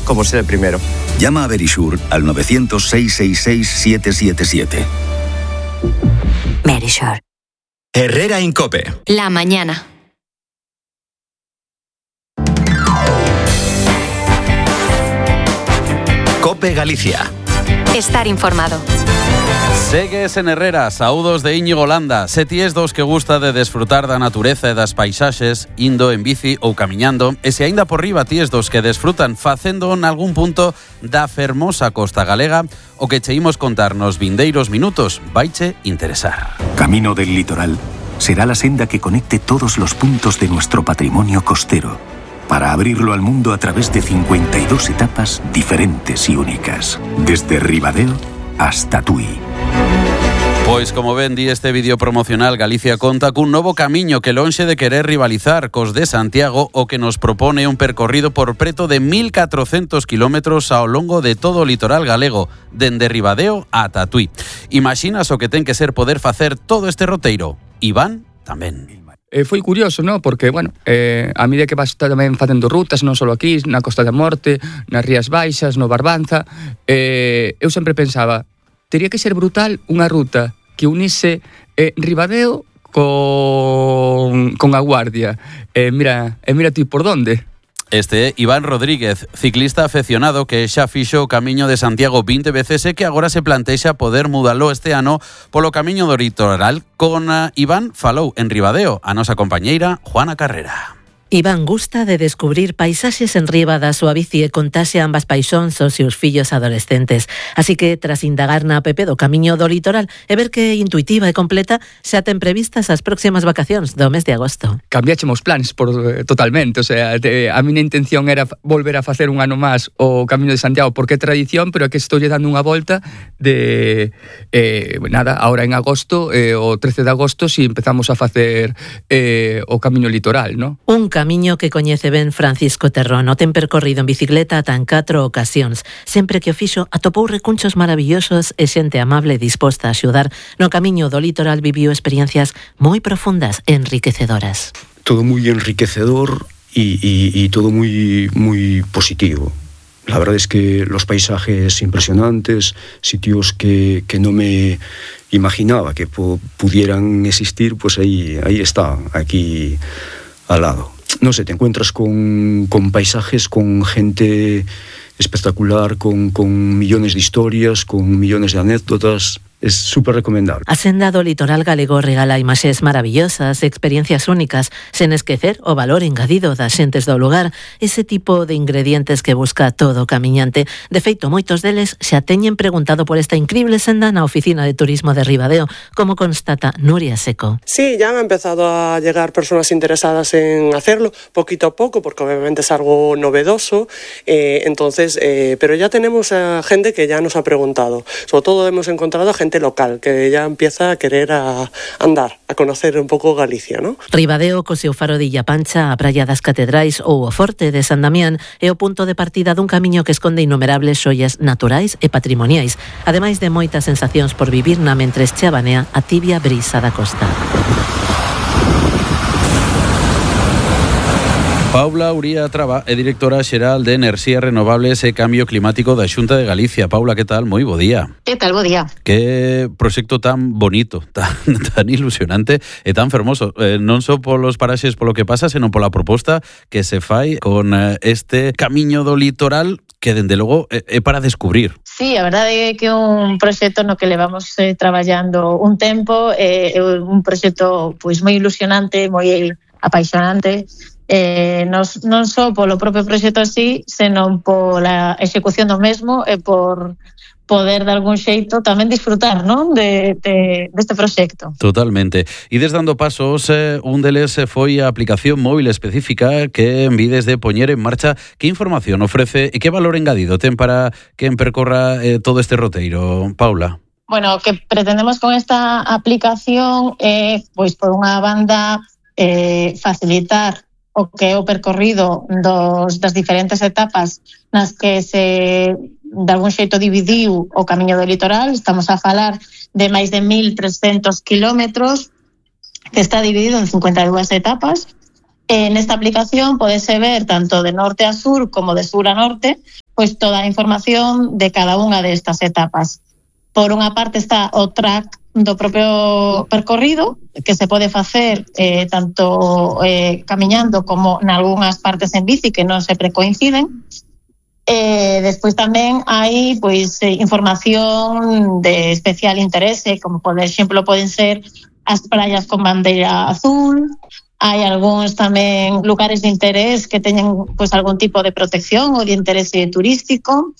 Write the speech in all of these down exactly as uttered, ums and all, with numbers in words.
como ser el primero. Llama a Verisure al nueve cero cero, seis seis seis, siete siete siete. Verisure. Herrera Incope. La mañana. Cope Galicia. Estar informado. Segues en Herrera, saúdos de Íñigo Landa. Se ti es dos que gusta de desfrutar da natureza e das paisaxes, indo en bici ou camiñando, e se aínda por riba ti es dos que desfrutan facendo en algún punto da fermosa costa galega, o que che imos contar nos vindeiros minutos vaiche interesar. Camino del Litoral será la senda que conecte todos los puntos de nuestro patrimonio costero, para abrirlo al mundo a través de cincuenta y dos etapas diferentes y únicas, desde Ribadeo hasta Tui. Pois como ven di este vídeo promocional, Galicia conta cun novo camiño que lonxe de querer rivalizar cos de Santiago, o que nos propone un percorrido por preto de mil catrocentos kilómetros ao longo de todo o litoral galego, dende Ribadeo ata Tui. Imaxinas o que ten que ser poder facer todo este roteiro? Iván tamén. Eh, foi curioso, ¿no? Porque, bueno, eh, a medida que vas tamén facendo rutas, non só aquí, na Costa da Morte, nas Rías Baixas, no Barbanza, eh, eu sempre pensaba, tería que ser brutal unha ruta que unise eh, Ribadeo con, con a Guardia. Eh, mira, eh, mira ti por donde. Este é Iván Rodríguez, ciclista afeccionado que xa fixo o camiño de Santiago vinte veces e que agora se plantexa poder mudalo este ano polo camiño do litoral. Con uh, Iván falou en Ribadeo a nosa compañeira Juana Carrera. Iván gusta de descubrir paisaxes en riba da súa bici e contase ambas paixóns aos seus fillos adolescentes. Así que, tras indagar na app do Camiño do Litoral e ver que é intuitiva e completa, xa ten previstas as próximas vacacións do mes de agosto. Cambiáchemos planes por, eh, totalmente, o sea, de, a miña intención era volver a facer un ano máis o Camiño de Santiago, porque é tradición, pero é que estou dando unha volta de, eh, nada, ahora en agosto, eh, o trece de agosto, si empezamos a facer eh, o Camiño Litoral, ¿no? Un camiño que coñece ben Francisco Terrón, o ten percorrido en bicicleta ata en catro ocasións. Sempre que o fixo, atopou recunchos maravillosos e xente amable disposta a axudar. No camiño do litoral viviu experiencias moi profundas e enriquecedoras. Todo moi enriquecedor e, e, e todo moi, moi positivo. La verdad es que los paisajes impresionantes, sitios que, que no me imaginaba que po, pudieran existir, pues ahí, ahí está, aquí al lado. No sé, te encuentras con, con paisajes, con gente espectacular, con, con millones de historias, con millones de anécdotas. Es súper recomendable. A senda do litoral galego regala imaxes maravillosas, experiencias únicas, sen esquecer o valor engadido das xentes do lugar, ese tipo de ingredientes que busca todo camiñante. De feito, moitos deles xa teñen preguntado por esta increíble senda na oficina de turismo de Ribadeo, como constata Nuria Seco. Sí, ya han empezado a llegar personas interesadas en hacerlo, poquito a poco, porque obviamente es algo novedoso, eh, entonces, eh, pero ya tenemos a gente que ya nos ha preguntado. Sobre todo hemos encontrado a gente local, que ya empieza a querer a andar, a conocer un pouco Galicia, ¿no? Ribadeo, co seu faro de Illa Pancha, a Praia das Catedrais ou o Forte de San Damián é o punto de partida dun camiño que esconde innumerables xollas naturais e patrimoniais, ademais de moitas sensacións por vivir na mentres cheabanea a tibia brisa da costa. Paula Uría Traba é directora xeral de Enerxías Renovables e Cambio Climático da Xunta de Galicia. Paula, que tal? Moi bo día. Que tal? Bo día. Que proxecto tan bonito, tan, tan ilusionante e tan fermoso. Eh, non só polos paraxes polo que pasa, senón pola proposta que se fai con eh, este camiño do litoral que, dende logo, é, é para descubrir. Sí, a verdade é que é un proxecto no que levamos eh, traballando un tempo, é eh, un proxecto pois moi ilusionante, moi apaixonante, eh, nos, non só polo propio proxecto así, senón pola execución do mesmo e por poder de algún xeito tamén disfrutar, non, de, de, deste proxecto. Totalmente. E desde dando pasos, eh, un deles foi a aplicación móvil específica que envides de poñer en marcha. Que información ofrece e que valor engadido ten para quen percorra eh, todo este roteiro, Paula? Bueno, o que pretendemos con esta aplicación é, pois, por unha banda, eh, facilitar o que é o percorrido dos, das diferentes etapas nas que se de algún xeito dividiu o camiño do litoral. Estamos a falar de máis de mil trescentos kilómetros que está dividido en cincuenta e dúas etapas En esta aplicación podese ver tanto de norte a sur como de sur a norte, pues toda a información de cada unha destas etapas. Por unha parte está o track do propio percorrido, que se pode facer eh, tanto eh, camiñando como en algunhas partes en bici que non sempre coinciden. Eh, despois tamén hai pois eh, información de especial interese, como por exemplo poden ser as praias con bandeira azul. Hai algúns tamén lugares de interés que teñen pois algún tipo de protección ou de interese turístico.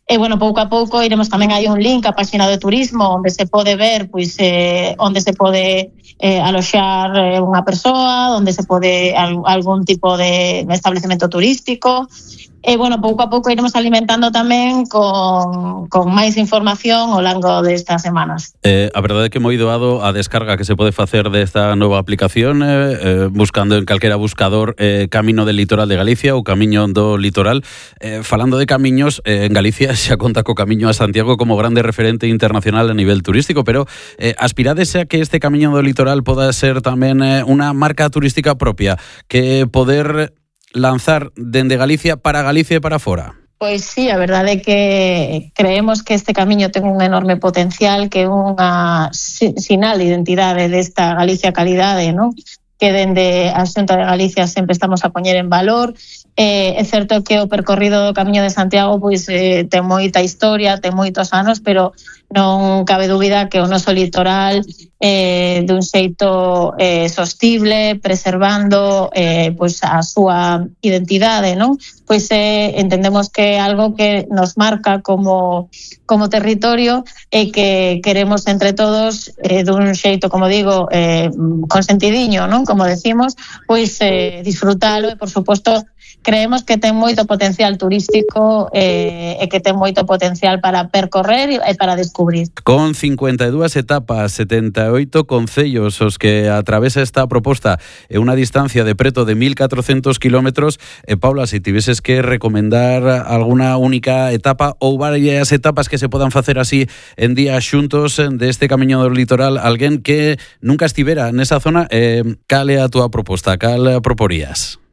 E, bueno, pouco a pouco iremos tamén, hai un link á página de turismo onde se pode ver pois eh, onde se pode eh, aloxar eh, unha persoa, onde se pode al, algún tipo de establecemento turístico. E, bueno, pouco a pouco iremos alimentando tamén con, con máis información ao longo destas semanas. Eh, a verdade é que moi doado a descarga que se pode facer desta nova aplicación eh, eh, buscando en calquera buscador eh, Camino del Litoral de Galicia ou Camiño do Litoral. Eh, falando de camiños, eh, en Galicia xa conta co Camiño a Santiago como grande referente internacional a nivel turístico, pero eh, aspirades a que este Camiño do Litoral poda ser tamén eh, unha marca turística propia, que poder lanzar dende Galicia para Galicia e para fora? Pois sí, a verdade é que creemos que este camiño ten un enorme potencial, que é unha sinal de identidade desta Galicia calidade, non? Que dende a Xunta de Galicia sempre estamos a poñer en valor. Eh, é certo que o percorrido do Camiño de Santiago pois eh, ten moita historia, ten moitos anos, pero non cabe dúbida que o noso litoral eh, dun xeito eh, sostible, preservando eh, pois a súa identidade, non? Pois eh, entendemos que é algo que nos marca como, como territorio e que queremos entre todos eh, dun xeito, como digo, eh, consentidiño, non? Como decimos, pois eh, disfrutalo e, por suposto, creemos que ten moito potencial turístico eh, e que ten moito potencial para percorrer e para descubrir. Con cincuenta e dúas etapas, setenta e oito concellos os que atravesa esta proposta e unha distancia de preto de mil catrocentos kilómetros, eh, Paula, se tiveses que recomendar alguna única etapa ou varias etapas que se podan facer así en días xuntos deste Camiño do Litoral, alguén que nunca estivera nesa zona, eh, cal é a túa proposta, cal proporías?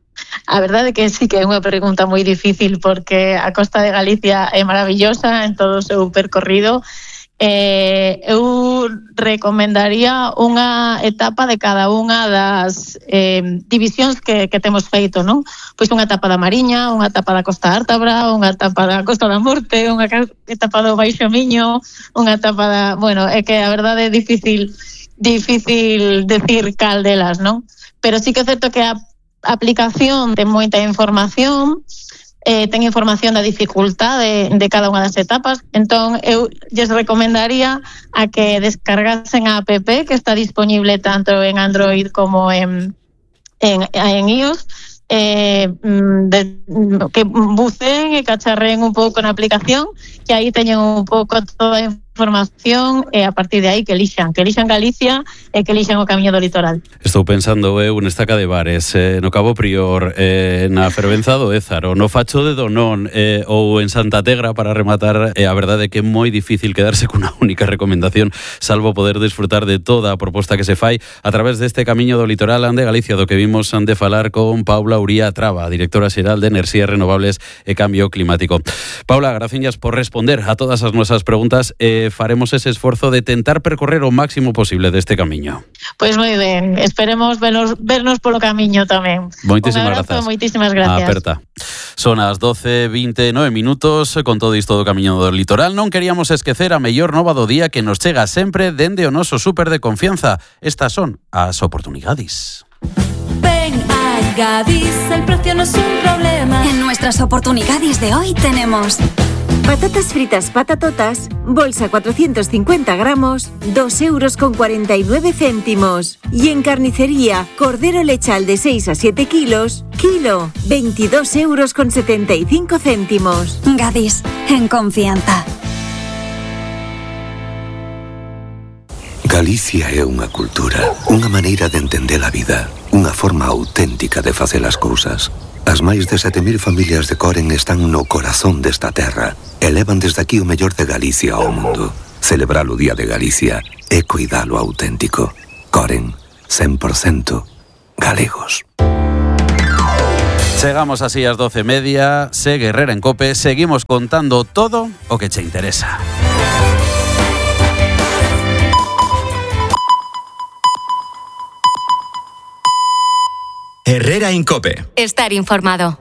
A verdade é que sí que é unha pregunta moi difícil, porque a costa de Galicia é maravillosa en todo o seu percorrido. Eh, eu recomendaría unha etapa de cada unha das eh, divisións que, que temos feito, non? Pois unha etapa da Mariña, unha etapa da Costa Ártabra, unha etapa da Costa da Morte, unha etapa do Baixo Miño, unha etapa da... Bueno, é que a verdade é difícil difícil decir cal delas, non? Pero sí que é certo que a aplicación ten moita información, eh, ten información da dificultade de, de cada unha das etapas, entón eu lles recomendaría a que descargasen a app que está disponible tanto en Android como en, en, en iOS, eh, de, que buceen e cacharreen un pouco na aplicación, que aí teñen un pouco toda a información e a partir de aí que elixan, que elixan Galicia e que elixan o Camiño do Litoral. Estou pensando eu en Estaca de Bares, eh, no Cabo Prior, eh, na Fervenza do Ézaro, no Facho de Donón eh, ou en Santa Tegra, para rematar. Eh, a verdade é que é moi difícil quedarse cunha única recomendación, salvo poder disfrutar de toda a proposta que se fai a través deste Camiño do Litoral ande Galicia, do que vimos ande falar con Paula Uría Traba, directora xeral de Enerxías Renovables e Cambio Climático. Paula, graciñas por responder a todas as nosas preguntas e eh, faremos ese esforzo de tentar percorrer o máximo posible deste camiño. Pois moi ben, esperemos vernos, vernos polo camiño tamén. Moitísimas grazas. grazas. Moitísimas gracias. Aperta. Son as doce e vinte e nove minutos, con todo isto do Camiño do Litoral. Non queríamos esquecer a mellor nova do día que nos chega sempre dende o noso súper de confianza. Estas son as oportunidades. Ven a Gadis, el precio no es un problema. En nuestras oportunidades de hoy tenemos patatas fritas patatotas, bolsa cuatrocientos cincuenta gramos, dos euros con cuarenta y nueve céntimos. Y en carnicería, cordero lechal de seis a siete kilos, kilo, veintidós euros con setenta y cinco céntimos. Gadis, en confianza. Galicia é unha cultura, unha maneira de entender a vida, unha forma auténtica de facer as cousas. As máis de sete mil familias de Coren están no corazón desta terra e levan desde aquí o mellor de Galicia ao mundo. Celebrar o Día de Galicia é cuidar o auténtico. Coren, cen por cento galegos. Chegamos así ás doce e media, segue Herrera en Cope, seguimos contando todo o que che interesa. Herrera en Cope. Estar informado.